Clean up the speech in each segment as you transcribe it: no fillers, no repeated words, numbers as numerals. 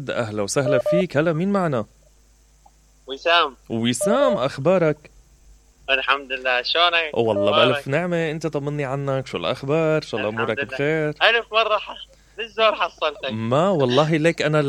أهلا وسهلا فيك. هلا مين معنا؟ وسام. وسام، أخبارك؟ الحمد لله، شلونك؟ والله أخبارك؟ بألف نعمة. أنت طمني عنك، شو الأخبار؟ شو الله الحمد أمورك لله. بخير؟ ألف مرة بالزور حصلتك. ما والله ليك أنا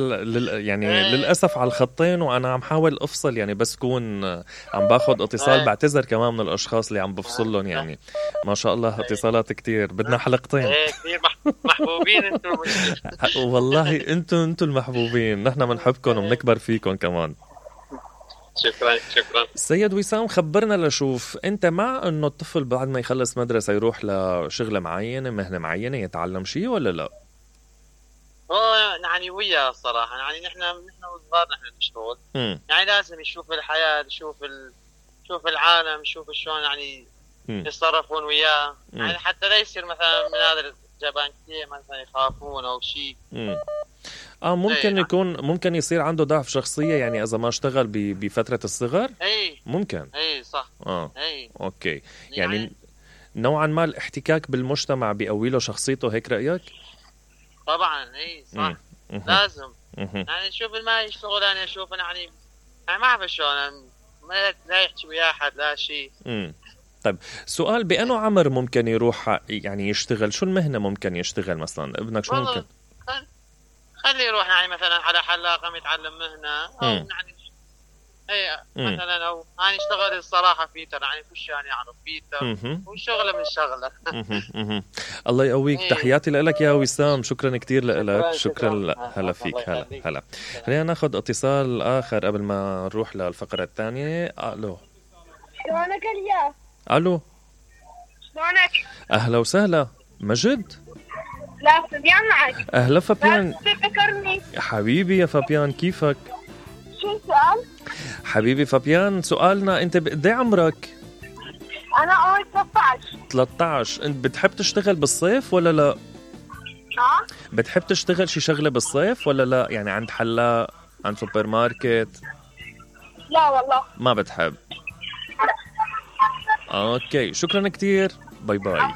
يعني إيه. للأسف على الخطين، وأنا عم حاول أفصل يعني، بس كون عم باخد اتصال. إيه. بعتذر كمان من الأشخاص اللي عم بفصل لهم يعني. ما شاء الله اتصالات كتير، بدنا حلقتين. إيه كثير محبوبين أنتم المشكلة. والله أنتوا المحبوبين، نحن بنحبكم وبنكبر فيكم كمان. شكرا شكرا. سيد وسام، خبرنا لشوف، انت مع انه الطفل بعد ما يخلص مدرسة يروح لشغلة معينة، مهنة معينة، يتعلم شيء ولا لا؟ يعني وياه الصراحة، يعني نحن وصغار نحن نشتغل. يعني لازم يشوف الحياة، يشوف العالم، يشوف شلون يعني يتصرفون وياه. يعني حتى لا يصير مثلا من هذا الجبان كثير مثلا يخافون او شيء. ممكن يكون، ممكن يصير عنده ضعف شخصية يعني إذا ما اشتغل بفترة الصغر. ممكن. صح. أوكي. يعني نوعا ما الاحتكاك بالمجتمع بيقوي له شخصيته، هيك رأيك؟ طبعا صح. لازم. يعني شوف ما يشتغل، أنا أشوف يعني ما أعرف شلون، لا يحكي ويا أحد لا شيء. طيب سؤال، بأنه عمر ممكن يروح يعني يشتغل؟ شو المهنة ممكن يشتغل مثلا ابنك؟ شو ممكن؟ خليه يروح يعني مثلا على حلاقة يتعلم مهنة، أو يعني مثلا، أو يعني يشتغل الصراحة فيتر، يعني كل يعني يعرف فيتر وشغلة من شغلة. الله يقويك. تحياتي لك يا وسام، شكرا كتير لك. شكرا. هلا فيك. هلا خلينا ناخد اتصال آخر قبل ما نروح للفقرة الثانية. ألو. شلونك اليوم؟ ألو. شلونك؟ أهلا وسهلا. مجد؟ لا، فابيان معك. أهلا فابيان. لا تذكرني حبيبي يا فابيان، كيفك؟ شو السؤال؟ حبيبي فابيان، سؤالنا أنت بقد عمرك؟ أنا عمري 13. 13. أنت بتحب تشتغل بالصيف ولا لا؟ بتحب تشتغل شي شغلة بالصيف ولا لا؟ يعني عند حلاق، عند سوبر ماركت؟ لا والله ما بتحب. أوكي، شكرا كتير. باي باي.